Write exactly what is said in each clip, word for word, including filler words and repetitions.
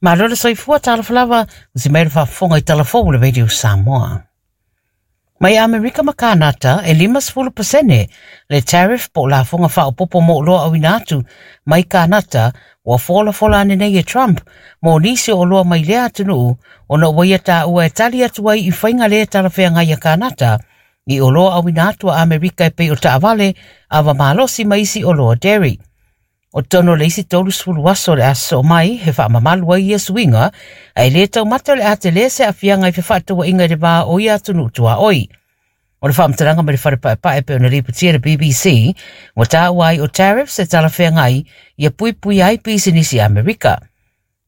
Malo le soifua talofa lava, o si mai le faafofoga i talafou o le Radio Samoa. Mai Amerika ma Kanata, e lima sefulu pasene le tariff po o lafoga faaopopo mo oloa auina atu mai Kanata ua folafola ane nei e Trump mo nisi o oloa mai lea atunuu ona ua ia taua e tali atu ai i faiga lē talafeagai a Kanata i oloa auina atu a Amerika e pei o taavale, ava malosi ma isi oloa dairy. O totonu o le isi tolusefulu aso o le a sosoo mai he faamamalu ai ia suiga, ae lē taumate o le a telē se aafiaga i fefaatauaiga i le vā o ia atunuu tuaʻoi. O le faamatalaga mai le fale paepae pe ona lipotia le B B C, ua taua ai o tariffs e talafeagai ia puipuia ai pisinisi Amerika.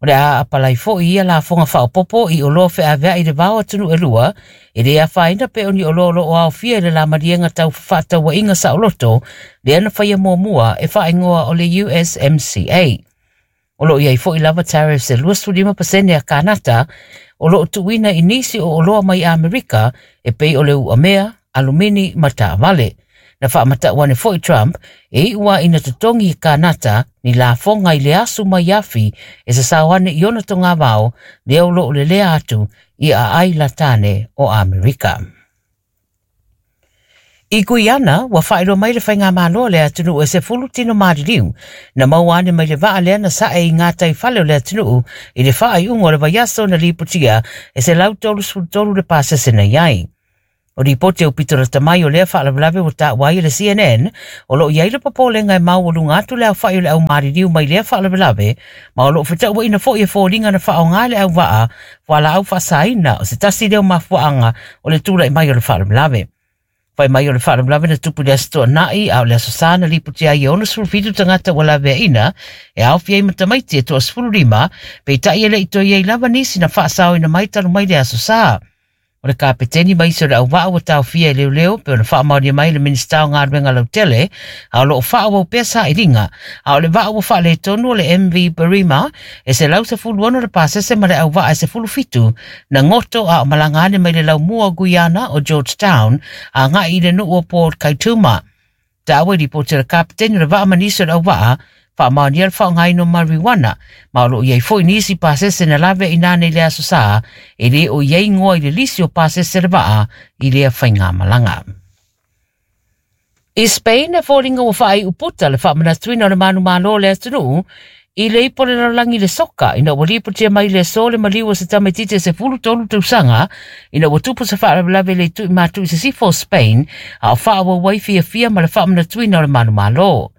O le a apalai foʻi ia lafoga faaopopo i oloa feaveaʻi le vao atunuu e lua e lē afaina pe o ni oloa o loo aofia i le lamaliega tau fefaatauaiga saoloto lea na faia muamua e faaigoa o le U S M C A. O loo iai foʻi lava tariffs e luasefulu lima pasene a Kanata o loo tuuina i nisi o oloa mai Amerika e pei o le uamea, alumini ma taavale. Na faamatau ane foʻi Trump e iu a ina totogi i Kanata ni lafoga i le asu mai afi e sasao ane i ona togavao lea o loo lelea atu i aai latane o Amerika. I Guiana, ua faailoa mai le faigamālo a le atunuu e sefulu tino maliliu na maua ane mai le vaa lea na sae i gataifale o le atunuu i le faaiuga o le vaiaso na lipotia e se lau tolusefulu tolu le pasese na iai. O ripoti au pito lata mai o lea faalavelave ua taua ai e le C N N, o loo iai le popolega e maualuga atu le aofaʻi o le au maliliu mai lea faalavelave, ma o loo fetauaʻina foʻi e foliga na faaaogā le auvaa fualaau faasaina o se tasi lea o mafuaaga o le tulaʻi mai o le faalavelave. Fai mai o le faalavelave na tupu i le Aso Toonai, a o le Aso Sa na lipotia ai e onosefulu fitu tagata ua laveaina e aofia ai ma tamaiti e toasefulu lima, peitai e leʻi toe iai lava nisi na faasaoina mai talu mai le Aso Sa. O le kapeteni ma isi o le auvaa ua taofia e leoleo pe ona faamaonia mai le Minista o Galuega Lautele, a o loo faaauau pea sailiga. A o le vaa ua faaletonu o le M V Barima e se lau sefulu ono le pasese ma le auvaa e sefulu fitu na goto a o malaga ane mai le laumua o Guiana o Georgetown agaʻi i le nuu o Port Kaituma. Taua i lipoti le kapeteni o le vaa ma nisi o le auvaa faamaonia le faaaogaina o marijuana, ma o loo iai foʻi nisi pasese na lave i nane i le Aso Sa e lē o iai igoa i le lisi o pasese le vaa i lea faigamalaga. I Spain, e foliga ua faaiu puta le faamanatuina o le manumālō o le atunuu i le ipo le lalolagi le soka ina ua lipotia mai le aso le maliu o se tamaititi e sefulu tolu tausaga ina ua tupu se faalavelave le ituʻi matuʻu i sisifo o Spain a o faaauau ai fiafia ma le faamanatuina o le manumālō.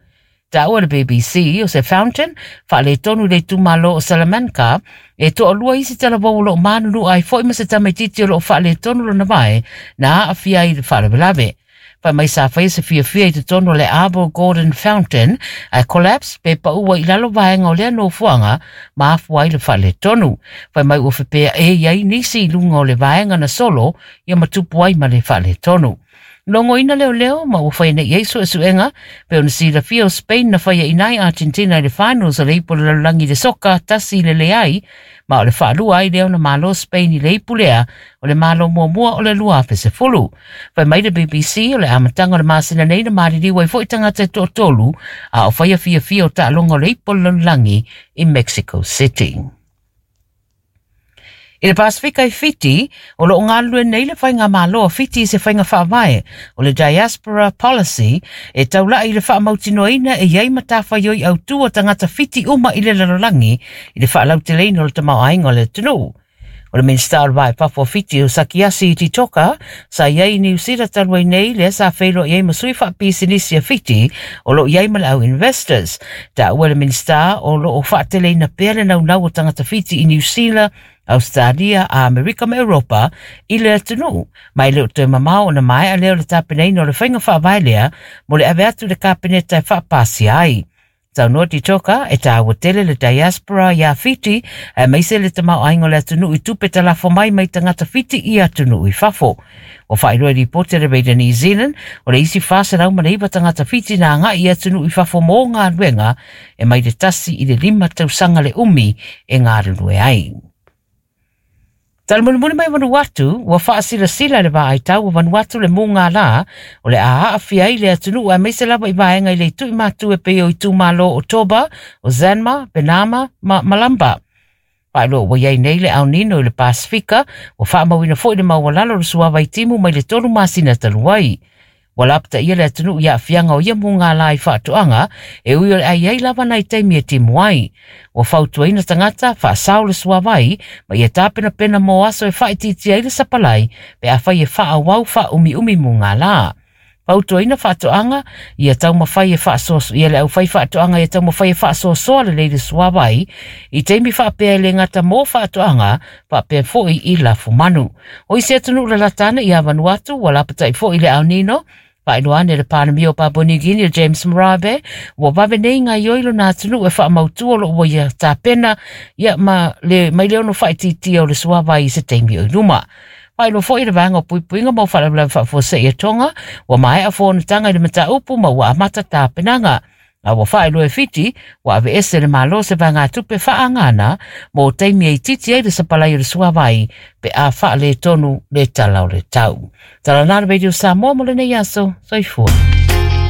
Taua le B B C o se fountain faaletonu i le itumālō o Salamanca e toalua isi talavou o loo manunu ai foʻi ma se tamaititi o loo faaletonu lona vae na aafia ai i le faalavelave. Fai mai sa faia se fiafia i totonu o le Arbor Gordon Fountain ae collapse pe paua i lalo vaega o lea nofoaga ma afua ai le faaletonu. Fai mai ua fepea e iai nisi i luga o le vaega na solo ia ma tupu ai ma le faaletonu. Logoina leoleo ma ua faia nei ai suesuega pe ona silafia o Spain na faia inai Argentina i le finals o le ipu o le lalolagi le soka tasi i le leai, ma o le faalua ai lea ona malo Spain i le ipu lea o le malo muamua o le lua afe sefulu. Fai mai le B B C o le amataga o le masina nei na maliliu ai foʻi tagata e toatolu a o faia fiafia o taaloga o le ipu o le lalolagi i Mexico City. I le Pasifika i Fiti, o loo galulue nei le faigamālō a Fiti i se faiga faavae o le Diaspora Policy e taulaʻi i le faamautinoaina e iai matafaioi autū o tagata Fiti uma i le lalolagi i le faalauteleina o le tamaoaiga o le atunuu. O le Minista o le Va i Fafo o Fiti o Sakiasi Ditoka sa iai i Niu Sila talu ai nei lea sa feiloai ai ma sui faapisinisi a Fiti o loo iai ma le au investors. Taua le Minista o loo faateleina pea le naunau o tagata Fiti i Niu Sila, Australia, Amerika ma Europa i le atunuu, ma e le o toe mamao ona maea lea o le tapenaina o le faiga faavae lea mo le ave atu le Kapeneta e faapasia ai. Saunoa Ditoka e tāua tele le diaspora iā Fiti aemaise le tamaoaiga o le atunuu i tupe talafo mai mai tagata Fiti i atunuu i fafo. Ua faailoa i lipoti a le Radio New Zealand o le isi fa selau ma le iva tagata Fiti na agaʻi i atunuu i fafo mo galuega e mai le tasi i le lima tausaga le umi e galulue ai. Talamulimuli mai Vanuatu, ua faasilasila le vaaitau o Vanuatu le mugālā o le a aafia ai le atunuu aemaise lava i vaega i le ituʻi matu e pei o itumālō o Toba, o Zanma, Benama ma Malamba. Faailoa ua i ai nei le El Nino i le Pasifika, ua faamauina foi le maualalo o le suavai timu mai le tolu masina talu ai. Ua lapataia le atunuu i aafiaga o ia mugala i faatoaga e ui o le ai ai lava nai taimi e timu ai. Ua fautuaina tagata faasao le suavai ma ia tapenapena mo aso e faaitiitia ai le sapalai pe afai e faaauau faaumiumi mugala. Fautuaina faatoaga ia taumafai e faasoaso ia le aufai faatoaga ia taumafai e faasoasoa lelei le suavai i taimi faapea e le gata mo faatoaga faapea foi i lafumanu. O isi atunuu lalata ane ia Vanuatu ua lapatai foi le El Nino. Faailoa ane le Palemia o Papua New Guinea James Marape ua vave nei gaoioi lona atunuu e faamautu o loo ua ia tapena ia ma le mai le ono faaitiitia o le suavai i se taimi o i luma. Faailoa foi le vaega o puipuiga mo faalavelave faafuasei e Tonga ua maea fonotaga i le mataupu ma ua amata tapenaga. A ua faailoa e Fiti ua aveese le Malo se vaegatupe faaagana mo taimi e itiiti ai le sapalai o le suavai pe a faaletonu le tala o le tau. Tala na le Radio Samoa mo lenei aso. Soifua.